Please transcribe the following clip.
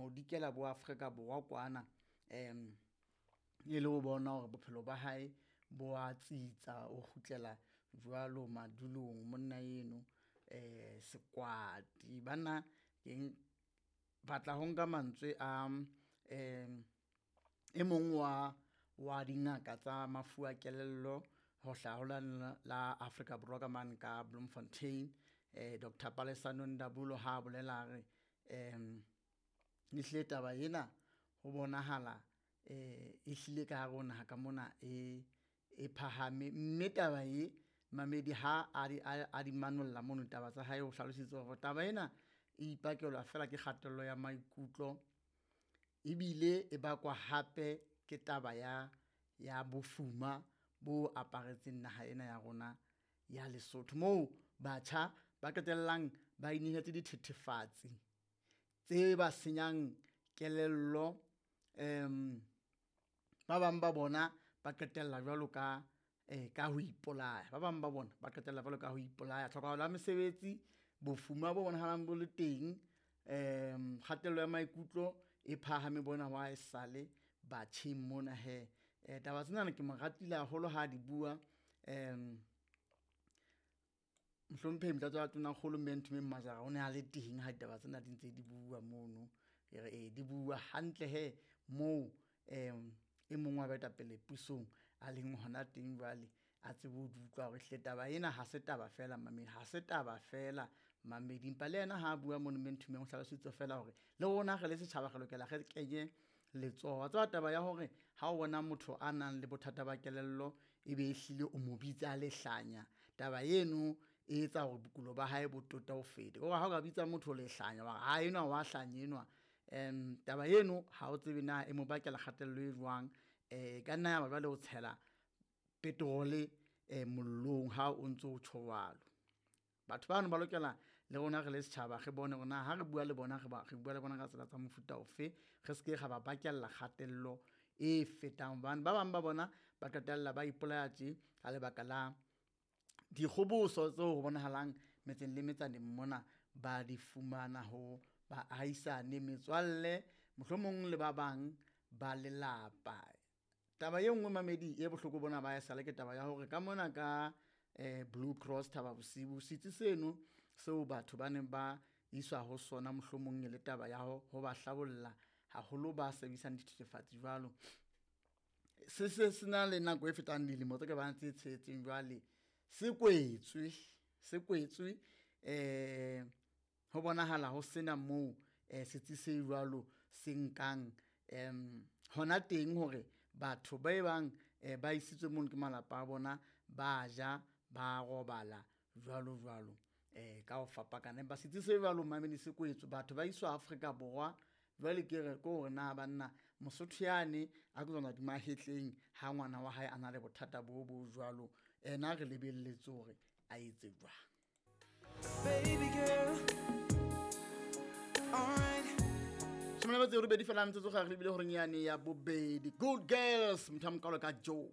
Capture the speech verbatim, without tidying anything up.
ho dikela bo Afrika Borwa kwana um e le ho bona hore bophelo ba hae bo a tsitsa, o kgutlela jwalo madulong monna eno um Sekwati. Banna ke batla ho nka mantswe a um e mong wa wa dingaka tsa mafu a kelello ho hlaha ho la la Afrika Borwa ka mane ka Bloemfontein, eh Doctor Palesa Nondabulo ha a bolela re um ehlile taba ena ho bonahala eh ehlile ka hare ho naha ka mona e e phahame, mme taba e mamedi ha a di a di manolla mono taba tsa hae, o hlalositse hore taba ena e ipakelwa fela ke kgatello ya maikutlo ebile e bakwa hape ke taba ya ya bofuma bo aparetseng naha ena ya rona ya Lesotho, moo batjha ba qetellang ba inehetse dithethefatsi tse ba senyang kelello. Um ba bang ba bona ba qetella jwalo ka eh ka ho ipolaya, ba bang ba bona ba qetella jwalo ka ho ipolaya. Tlhokahalo ya mesebetsi, bofuma bo bonahalang bo le teng, um kgatello ya maikutlo e phahame bona wa esale batjheng mona hee. Eh taba tsena ke mo ratile haholo ha di bua um Mohlomphehi Motlatsa wa Tonakgolo Mme Nthomeng Majara o ne a le teng ha ditaba tsena di ntse di bua mono. E re e di bua hantle he moo um e mong wa baetapele pusong a leng hona teng jwale a tsebe ho di utlwa hore ehlile taba ena ha se taba feela mamedi, ha se taba feela mamedi. Empa le yena ha a bua mono Mme Nthomeng o hlalositse feela hore le rona re le setjhaba re lokela re kenye letsoho. Wa tseba taba ya hore ha o bona motho a nang le bothata ba kelello ebe ehlile o mo bitsa lehlanya, taba eno e etsa hore bokulo ba hae bo tote ho feta. Hore ha o ka bitsa motho lehlanya wa re ha enwa wa hlanya enwa, um taba eno ha o tsebe na e mo bakela kgatello e jwang. E ka nna ya ba jwale o tshela petrol-e mollong ha o ntso tjho jwalo. Batho bano ba lokela le rona re le setjhaba re bone hore na ha re bua le bona re ba re bua le bona ka tsela tsa mofuta ofe, re seke ra ba bakella kgatello e fetang hobane ba bang ba bona ba qetella ba ipolaya tje ka lebaka la dikgoboso tseo ho bonahalang metseng le metsaneng mona ba di fumana ho baahisane, metswalle mohlomong le ba bang ba lelapa. Taba e nngwe mamedi e bohloko bona ba esale ke taba ya hore ka mona ka eh Blue Cross Thaba Bosiu setsi seno seo batho ba neng ba iswa ho sona mohlomong e le taba ya ho ho ba hlabolla haholo ba sebedisang dithethefatsi jwalo. Se se sena le nako e fetang dilemo tse ka bang tse tsheletseng jwale se kwetswe, se kwetswe eh ho bonahala ho sena moo eh setsi se jwalo se nkang em hona teng hore batho ba e bang ba isitswe mono ke malapa a bona ba ja ba robala jwalo jwalo eh ka ho fapakana. Empa setsi se jwalo mamedi se kwetswe, batho ba iswa Afrika Borwa jwale ke re ke hore na banna Mosotho yane a tsona di mahetleng ha ngwana wa hae a na le bothata bo bo jwalo, ena re lebelletse hore a etse jwang. Baby girl, alright. Shome le metso e robedi fela metsotso ga re lebile horeng yane ya bobedi. Good Girls, motho a mokalo ka Joe.